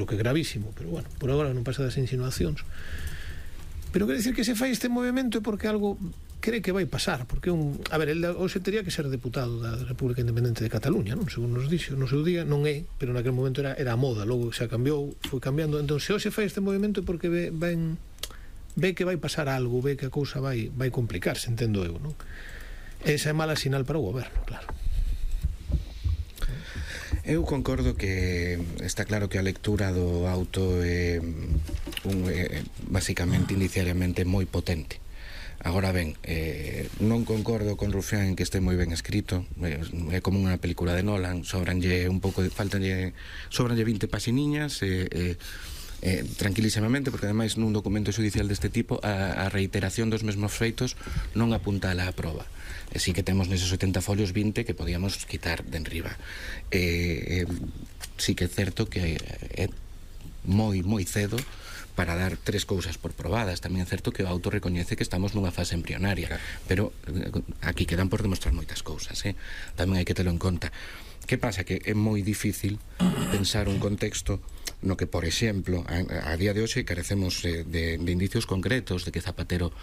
o que é gravísimo, pero bueno, por agora non pasa das insinuacións. Pero quer decir que se fai este movimento é porque algo cree que vai pasar, porque a ver, el hoxe teria que ser deputado da República Independente de Cataluña, non? Según nos dixo, no seu día non é, pero naquele momento era a moda, logo xa cambiou, foi cambiando. Entón, se hoxe fai este movimento é porque ve que vai pasar algo, ve que a cousa vai complicarse, entendo eu, non? Esa é mala sinal para o goberno, claro. Eu concordo que está claro que a lectura do auto é basicamente indiciariamente moi potente. Agora ben, non concordo con Rufián en que este moi ben escrito, é como unha película de Nolan, sobranlle 20 pasiniñas, tranquilísimamente, porque ademais nun documento xudicial deste tipo a reiteración dos mesmos feitos non apunta a proba. E si que temos neses 80 folios 20 que podíamos quitar de enriba. Si que é certo que é moi cedo para dar tres cousas por probadas. Tamén é certo que o auto recoñece que estamos nunha fase embrionaria, pero aquí quedan por demostrar moitas cousas, tamén hai que telo en conta. Que pasa? Que é moi difícil pensar un contexto no que, por exemplo, a día de hoxe carecemos de indicios concretos de que Zapatero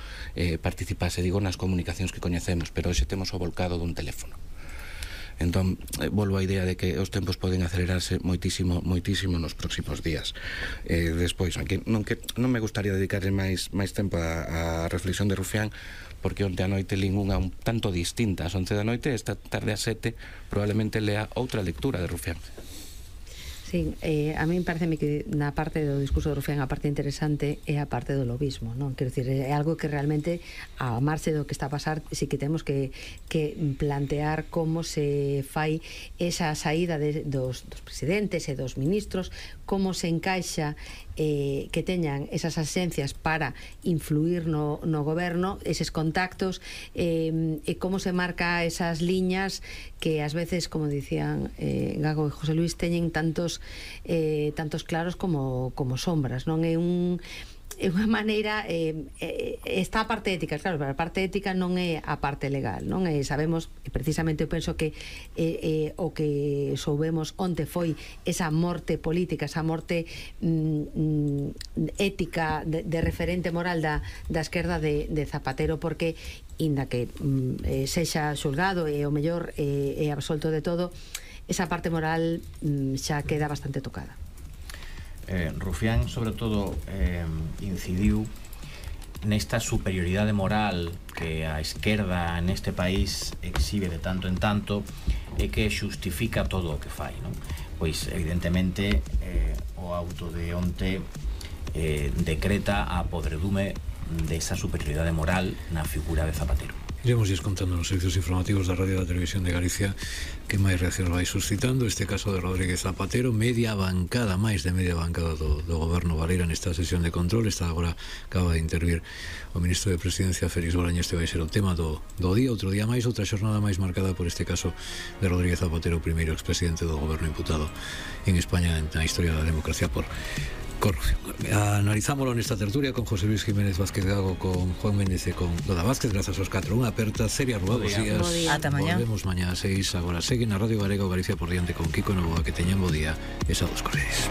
participase, digo, nas comunicacións que coñecemos, pero hoxe temos o volcado dun teléfono. Entón, volvo á idea de que os tempos poden acelerarse moitísimo nos próximos días. Despois, non me gustaría dedicarle máis tempo á reflexión de Rufián, porque onte a noite lín unha un tanto distinta. Ás 11 da noite, esta tarde ás 7 probablemente lea outra lectura de Rufián. Sí, a mí pareceme que na parte do discurso de Rufián a parte interesante é a parte do lobismo, non? Quero dicir, é algo que realmente a marxe do que está a pasar sí que temos que plantear como se fai esa saída dos presidentes e dos ministros, como se encaixa que teñan esas asencias para influir no goberno, eses contactos, e como se marca esas liñas que ás veces, como dicían Gago e José Luis, teñen tantos claros como sombras, non? É unha maneira, está a parte ética, claro, pero a parte ética non é a parte legal, non? Sabemos, precisamente eu penso que o que soubemos onte foi esa morte política, esa morte ética de referente moral da esquerda de Zapatero, porque inda que sexa xulgado e o mellor é absolto de todo, esa parte moral xa queda bastante tocada. Rufián, sobre todo, incidiu nesta superioridade moral que a esquerda neste país exhibe de tanto en tanto e que xustifica todo o que fai, non? Pois, evidentemente, o auto de onte decreta a podredume desa superioridade moral na figura de Zapatero. Iremos contando nos servicios informativos da Radio e da Televisión de Galicia que máis reaccións vai suscitando este caso de Rodríguez Zapatero. Máis de media bancada do goberno Valera nesta sesión de control. Agora acaba de intervir o ministro de Presidencia, Félix Bolaño. Este vai ser o tema do día, outro día máis, outra xornada máis marcada por este caso de Rodríguez Zapatero, o primeiro expresidente do goberno imputado en España na historia da democracia por corrupción. Analizámoslo nesta tertulia con José Luis Jiménez Vázquez Gago, con Juan Méndez e con Loda Vázquez. Grazas aos 4. Unha aperta seria, Rúa, bos días. Ata mañá. Volvemos mañá a 6. Agora segue na Radio Galega o Galicia por diante con Kiko Novoa. Que teñan bo día e saúdos correis.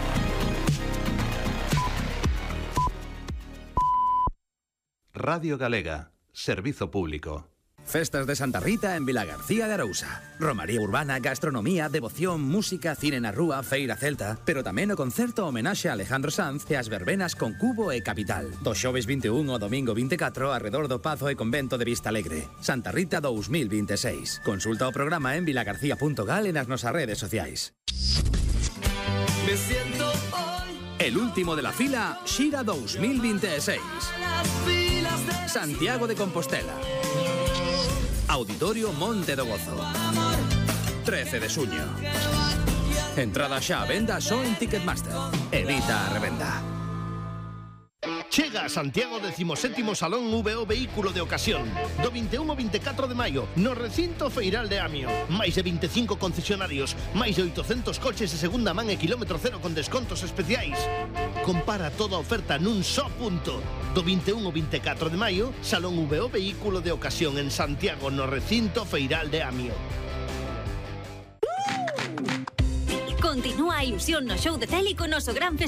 Radio Galega, servizo público. Festas de Santa Rita en Vilagarcía de Arousa. Romaría urbana, gastronomía, devoción, música, cine na rúa, feira celta, pero tamén o concerto homenaxe a Alejandro Sanz e as verbenas con Cubo e Capital. Do xoves 21 ao domingo 24 arredor do Pazo e Convento de Vista Alegre. Santa Rita 2026. Consulta o programa en vilagarcía.gal e nas nosas redes sociais. Me siento hoy El último de la fila, Xira 2026. Santiago de Compostela. Auditorio Monte do Gozo. 13 de xuño. Entrada xa a venda só en Ticketmaster. Evita a revenda. Chega a Santiago 17º Salón VO Vehículo de Ocasión do 21 ao 24 de maio no recinto feiral de Amio. Máis de 25 concesionarios, máis de 800 coches de segunda man e kilómetro cero con descontos especiais. Compara toda a oferta nun só punto. Do 21 ao 24 de maio, Salón VO Vehículo de Ocasión en Santiago no recinto feiral de Amio. Con Continúa a ilusión no show de Célico, noso gran festival